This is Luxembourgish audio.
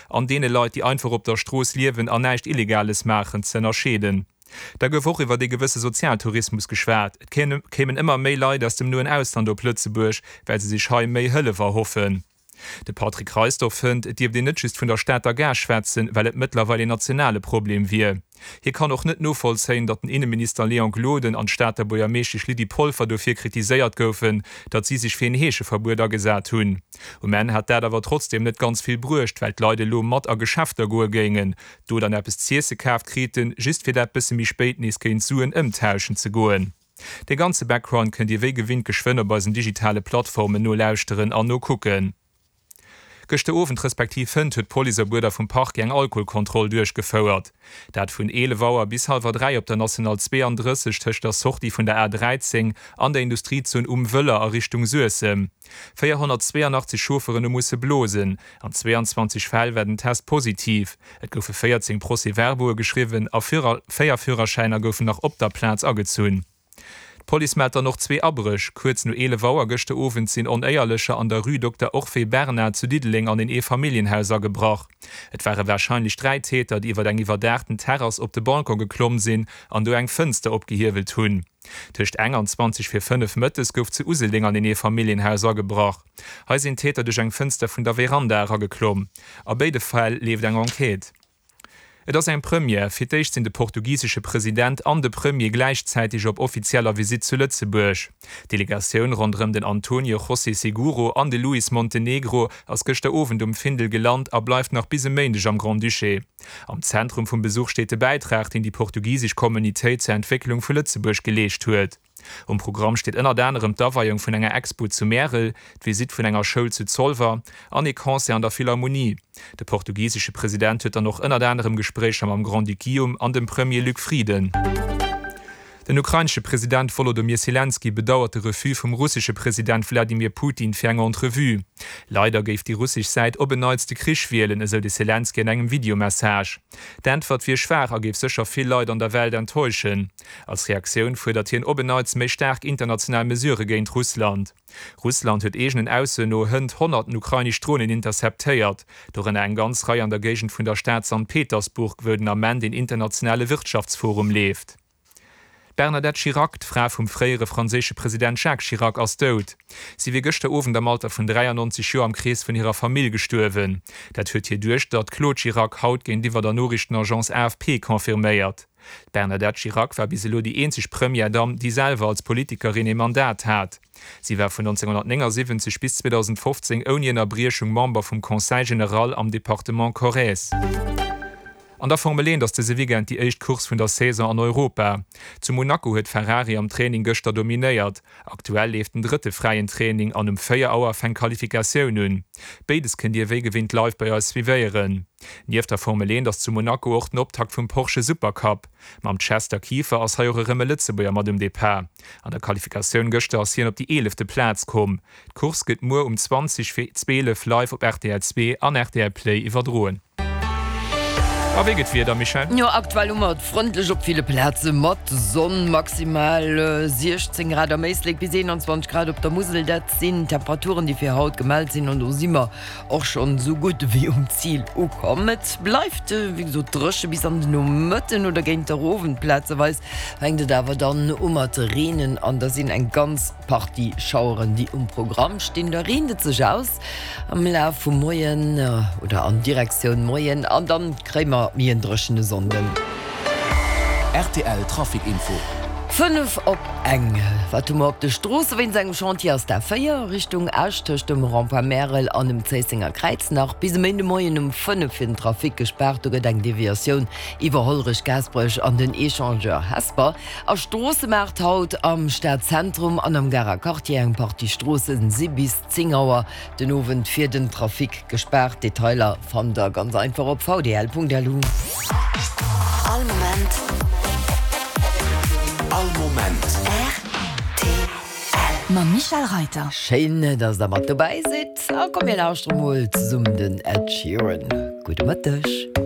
an deene Leit, déi einfach op der Strooss liewen an näischt Illegales maachen, ze ënnerscheeden. Da gouf och iwwer ee gewësse Sozialtourismus geschwat. Et kéimen ëmmer méi Leit aus dem noen Ausland op Lëtzebuerg, well se sech hei méi Hëllef erhoffen. De Patrick Reisdorf fënnt, et dierft een net just vun der Stater Gare schwätzen, well et mëttlerweil een nationale Problem wier. Hie kann och net novollzéien, datt den Inneminister Léon Gloden an d'Stater Buergermeeschtesch Lydie Polfer dofir kritiséiert goufen, datt si sech fir een Heescheverbuet agesat hunn. Um Enn hätt dat awer trotzdeem net ganz vill bruecht, well d'Leit elo mat a Geschäfter goe géingen, do dann eppes z'iesse kaaft kriten, just fir dat bësse méi spéit nees géint Suen ëmtauschen ze goen. De ganze Background kënnt Dir wéi gewinnt geschwënn op eisen digitale Plattformen nolauschteren an nokucken. Gëschter Owend respektiv hënt huet d'Police op Uerder vum Parquet eng Alkoholkontroll duerchgefouert. Dat vun 11 Auer bis hallwer 3 op der National 32 tëscht der Sortie vun der A 13 an der Industriezon Um Wëller a Richtung Suessem. 482 Chaufferen hu musse blosen. An 22 Fäll war den Test positiv. Et goufe 14 Procès-verbaue geschriwwen a 4 Führerschäiner goufen nach op der Plaz agezunn. D'Police mellt dann och zwee Abréch. Kuerz no 11 Auer gëschter Owend sinn Onéierlecher an der Rue Dokter Orphée Bernard zu Diddeleng an een Eefamilljenhaus agebrach. Et ware warscheinlech 3 Täter, déi iwwer eng iwwerdaachten Terrass op de Balcon geklomm sinn an do eng Fënster opgehiewelt hunn. Tëscht eng an 20 vir 5 mëttes gouf zu Useldeng an een Eefamilljenhaus agebrach. Hei sinn d'Täter duerch eng Fënster vun der Veranda erageklomm. A béide Fäll leeft eng Enquête. Et ass eng Première, Fir d'éischt sinn de portugisesche President an de Premier gläichzäiteg op offizieller Visitt zu Lëtzebuerg. D'Delegatioun ronderëm den Antonio José Seguro an de Luis Montenegro ass gëschter Owend um Findel gelant a bleift nach bis e Méindeg am Grand-Duché. Am Zentrum vum Besuch steet de Bäitrag, deen déi portugisesch Communitéit zur Entwécklung vu Lëtzebuerg geleescht huet. Um Programm steet ënnert anerem d'Aweiung vun enger Expo zu Märel, d'Visitt vun enger Schoul zu Zolwer an ee Concert an der Philharmonie. De portugisesche President huet dann och ënnert anerem Gespréicher mam Grand-Duc Guillaume an dem Premier Luc Frieden. Den ukrainesche President Wolodymyr Selenskyj bedauert de Refus vum russesche President Wladimir Putin fir eng Entrevue. Leider géif déi russesch Säit op en Neits de Krich wielen, esou de Selenskyj an engem Videomessage. D'Äntwert wier schwaach a géif sécher vill Leit an der Welt enttäuschen. Als Reaktioun fuerdert hien op en Neits méi staark international Mesurë géint Russland. Russland huet eegenen Aussoen no hënt honnerten ukrainesch Dronen interceptéiert, dorënner eng ganz Rei an der Géigend vun der Stad Sankt Petersburg, wou den Ament een internationale Wirtschaftsforum leeft. D'Bernadette Chirac, d'Fra vum fréiere franséische President Jacques Chirac, ass dout. Si wier gëschter Owend am Alter vun 93 Joer am Krees vun hirer Famill gestuerwen. Dat huet hir Duechter, d'Claude Chirac, haut géintiwwer der Noriichtenagence AFP confirméiert. D'Bernadette Chirac war bis elo déi eenzeg Première-Damm, déi selwer als Politikerin ee Mandat hat. Si war vun 1979 bis 2015 ouni Ënnerbriechung Member vum Conseil général am Departement Corrèze. An der Formel 1 ass dëse Weekend déi éischt Course vun der Saison an Europa. Zu Monaco huet Ferrari am Training gëschter dominéiert. Aktuell leeft den drëtte fräien Training an um 4 Auer fänkt d'Qualifikatioun un. Béides kënnt Dir wéi gewinnt live bei eis suivéieren. Nieft der Formel 1 ass zu Monaco och den Optakt vum Porsche Supercup. Mam Chester Kieffer ass hei och erëm e Lëtzebuerger mat um Depart. An der Qualifikatioun gëschter ass hien op déi eelefte Plaz komm. D'Course gëtt muer um 20 vir 12 live op rtl 2 an rtl Play iwwerdroen. A wéi gëtt d'Wieder, Michèle? Jo, aktuell hu mer et frëndlech op ville Plaze mat Sonn, maximal 16 Grad am Éislek bis 21 Grad op der Musel. Dat sinn d'Temperaturen, déi fir haut gemellt sinn an do si mer och schonn esou gutt ewéi um Zil ukomm. Et bleift wéi gesot dréche bis an den Nomëtten oder géint der Owend. Plazeweis fänkt et awer dann u mat reenen an da sinn eng ganz Partie Schaueren, déi um Programm stinn. Da reent et sech aus am Laf vum Moien oder an Direktioun Moien an dann kréie mer méi en dréchene Sonnden. Rtl Trafic Info. 5 op eng. Wat hu mer op de Stroosse? Wéinst engem Chantier ass d'A4 Richtung Esch tëscht dem Rond-point Märel an dem Zéissenger Kräiz nach bis e Méindemoien um 5 fir den Trafic gespaart. Do gëtt eng Deviatioun iwwer Hollerech, Gaasperech an den Echangeur Hesper. A Stroossemaart haut am Stadzentrum an am Garer Quartier. Eng Partie Stroosse si bis 10 Auer Den Owend fir den Trafic gespaart. Detailer fannt der ganz einfach op vdl.lu. All Moment. All Moment. Rtl. Mam Michèle Reiter. Schéin, dass der mat dobäi sidd. A komm mir lauschtere mol zesummen den Ed Sheeran. Gudde Mëtteg.